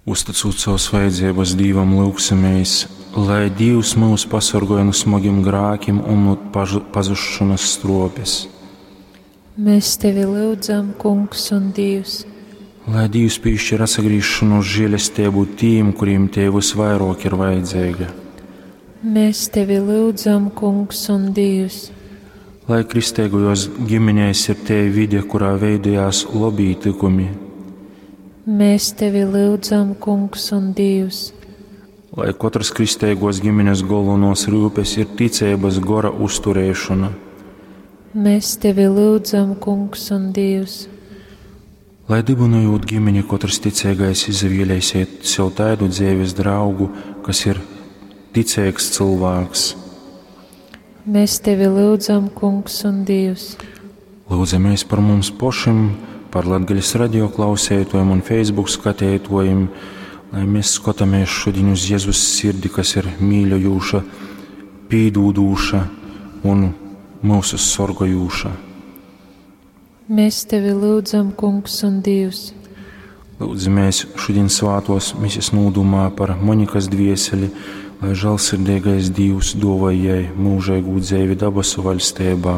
Uztycūt savas vajadzības Dīvam, lyugsimies, lai Dīvs myus pasorgoj nu smogim grākim un nu pazušanas stropes. Mēs tevi lyudzam, Kungs un Dievs. Lai Dīvs piešķir atsagriešanos žēlestību tīm, kuriem tie visvairāk ir vajadzīga. Mēs tevi lyudzam, Kungs un Dievs. Lai kristīgajos ģimenēs ir tie vide, kurā veidojās labi tikumi. Mēs tevi lyudzam, Kungs un Dievs. Lai katras kristīgos ģimenes galvenos rūpes ir ticības gora uzturēšana. Mēs tevi lyudzam, Kungs un Dievs. Lai dibinojot ģimeni, katrs ticīgais izvēlēsiet sev tādu dzīves draugu, kas ir ticīgs cilvēks. Mēs tevi lyudzam, Kungs un Dievs. Lūdzamies par mums pašiem, par Latgales radio klausētojiem un Facebook skatētojiem, lai mēs skatāmies šodien uz Jēzus sirdi, kas ir mīļojūša, pīdūdūša un mūsu sorgojūša. Mēs tevi lūdzam, Kungs un Dievs. Lūdzamies šodien svātos mises nūdumā par Monikas dvieseli, lai žēlsirdīgais Dievs dāvā jai mūžīgu dzīvi dabasu valstībā.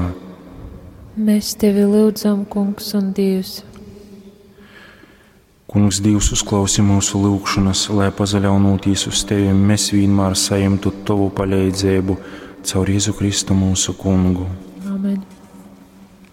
Mēs tevi lūdzam, Kungs un Dievs. Kungs, Dievs, uzklausi mūsu lūgšanas, lai pazaļaunotīs uz tevi, mēs vienmēr saņemtu tavu palīdzību caur Jēzu Kristu mūsu kungu.